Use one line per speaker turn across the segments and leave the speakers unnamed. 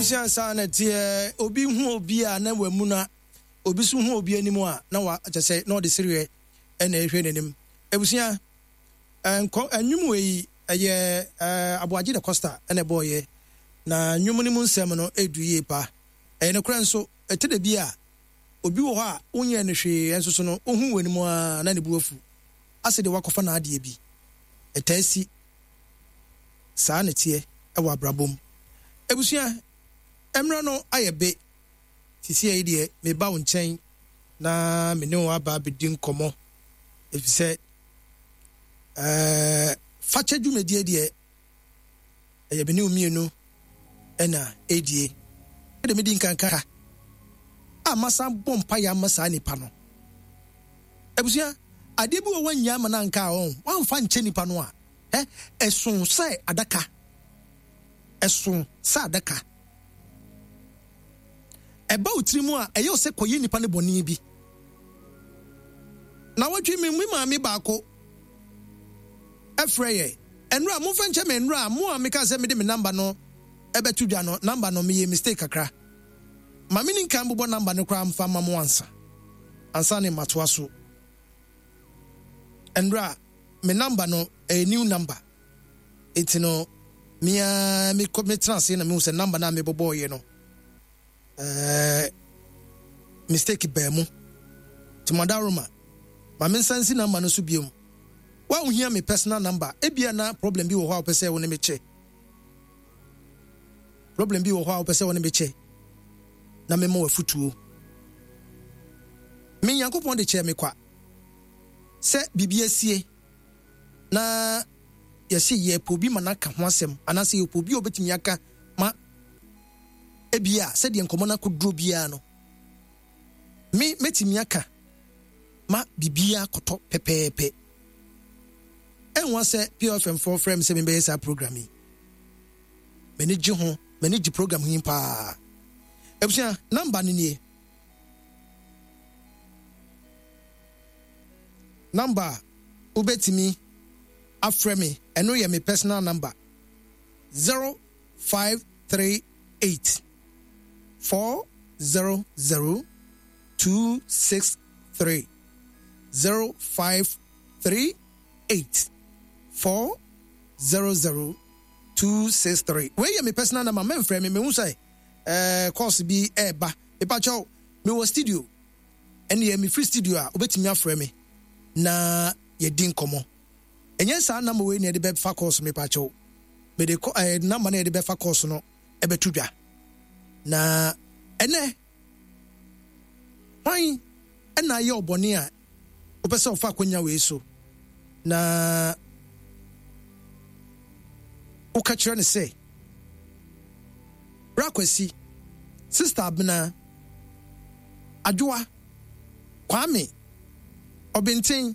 Abusua saa na ɛteɛ, obi hu obi a na wamuna, obi nso hu obi anim a na wa kyɛ sɛ na ɔde sereɛ na ɛhwɛ n'anim. Abusua, nkɔ nnwom wei ɛyɛ Aboagye da Costa na ɛbɔɔyɛ, na nnwom no mu nsɛm no ɛdu yie pa. Ɛyɛ nokorɛ nso, ɛtɔ da bi a obi wɔ hɔ a wonyɛɛ no hwee nso so no ohu w'anim ara na ne bo afu asɛ deɛ wakɔfa n'adeɛ bi. Ɛtaa si. Saa na ɛteɛ wɔ abrabɔ mu. Abusua, mmerɛ no ayɛ be. Seesei yi deɛ meba wo nkyɛn na me ne wo aba abɛdi nkɔmmɔ, ɛfiri sɛ ɛɛ fakyɛ dwumadie deɛ ɛyɛ me ne wo mmienu na ɛredie. Ɛde medi nkanka a masan bɔ mpaeɛ ama saa nipa no. Abusua, adeɛ bi wɔ wannya ama no anka a ɔn, wamfa nkyɛ nipa no a, ɛ, ɛso sɛ adaka. Ɛso sɛ adaka. Ɛba wo tiri mu a, ɛyɛ wo sɛ kɔyɛ nipa no bɔne bi. Na wɔtwe me me maame baako ɛfrɛ yɛ. Ɛnora, momfa nkyɛ me ɛnora, mo a meka sɛ mede me namba no ɛbɛto dwa no, namba no meyɛ mistake kakra. Ma me ni nkan bobɔ namba no koraa mfa ma mo ansa. Ansa ne matoa so. Ɛnora, me namba no ɛyɛ new number. Enti no, me ara mekɔ metena ase na mehu sɛ namba no a mebobɔɔyɛ no, ɛɛ mistake baa mu. Nti mo adaworoma, ma me nsa nsi namba no so biom. Wo a wohia me personal number, ebia na problem bi wɔ hɔ a wopɛ sɛ wo ne me kyɛ. Problem bi wɔ hɔ a wopɛ sɛ wo ne me kyɛ na mema wo afutuo. Me Nyankopɔn de kyɛɛ me kwa sɛ biribi asie na yɛse yɛpɛ obi ma no aka ho asɛm anaasɛ yɛpɛ obi a obetumi aka ma ebia sɛdeɛ nkɔmmɔ no akɔduro biara no me mɛtumi aka ma biribiara kɔtɔ pɛpɛɛpɛ. Ɛnwa sɛ PFM foɔ frɛ me sɛ membɛyɛ saa program yi. M'ani gye ho, m'ani gye program yi paa. Abusua, namba no nie. Namba a wobɛtumi afrɛ me, ɛno yɛ me personal number, 0538 400 263, 0538 400 263. Wei yɛ me personal number, mɛmfrɛ me, mehu sɛ eh, calls bi ɛɛba. Mepakyɛw, mewɔ studio. Ɛnneɛ mefiri studio a, wobɛtumi afrɛ me na yɛadi nkɔmmɔ. Ɛnyɛ saa number wei na yɛde bɛfa calls mepakyɛw. Mede kɔ ɛɛ eh, number na yɛde bɛfa calls no ɛbɛto dwa. Na ɛnɛ hwan ɛna ayɛ ɔbɔne a wopɛ sɛ ɔfa akwanya wei so na woka kyerɛ no sɛ Bra Kwasi, Sister Abena, Adwoa, Kwame, Ɔbenten,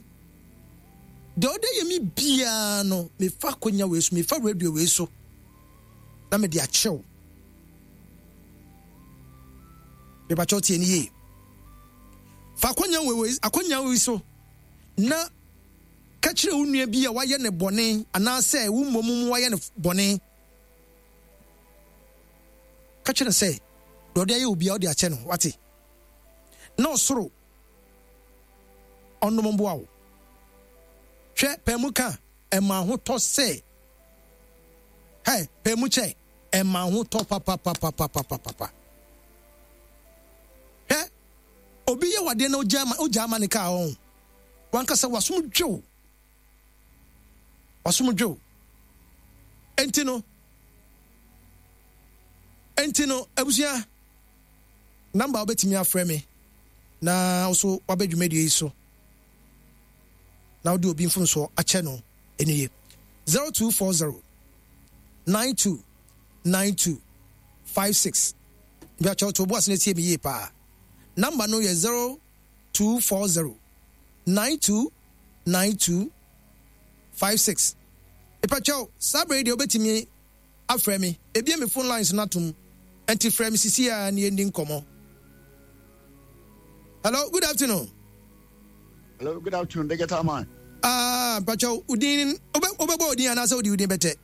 deɛ ɔde yɛ me biara no, mefa akwanya wei so, mefa radio wei so na mede akyɛw. Mepakyɛw tie ne yie. Fa akwanya wei akwanya wei so na ka kyerɛ wo nua bi a wayɛ ne bɔne anaasɛ wo mmom mu wayɛ no bɔne. Ka kyerɛ no sɛ deɛ ɔde ayɛ obiara ɔde akyɛ no wate. Na ɔsoro ɔnom mboa wo. Hwɛ pɛn mu ka ɛma ahotɔ sɛ hɛ pɛn mu kyɛ ɛma ahotɔ papapapapapapa. Hwɛ obi yɛ wadeɛ na ogya ma ogya ama ne kaa ɔn wankasa wasom dwew wasom dwew. Enti no enti no abusua namba wobɛtumi afrɛ me na wo so wabɛ dwumadie yi so na wode obi mfomsoɔ akyɛ no ɛno ye 0240 92 92 56 Mepakyɛw to bo ase na tie me yie paa. Number no yɛ 0240 92 92 56. Mepakyɛw saa berɛ yi deɛ wobɛtumi afrɛ me. Mebue me phone lines no atom nti frɛ me sisi ara na yɛnni nkɔmmɔ. Hello, good afternoon.
Hello, good afternoon, digital man.
Ah, mpakyɛw, wo din, wobɛbɔ wo din anaasɛ wode wo din bɛtɛ?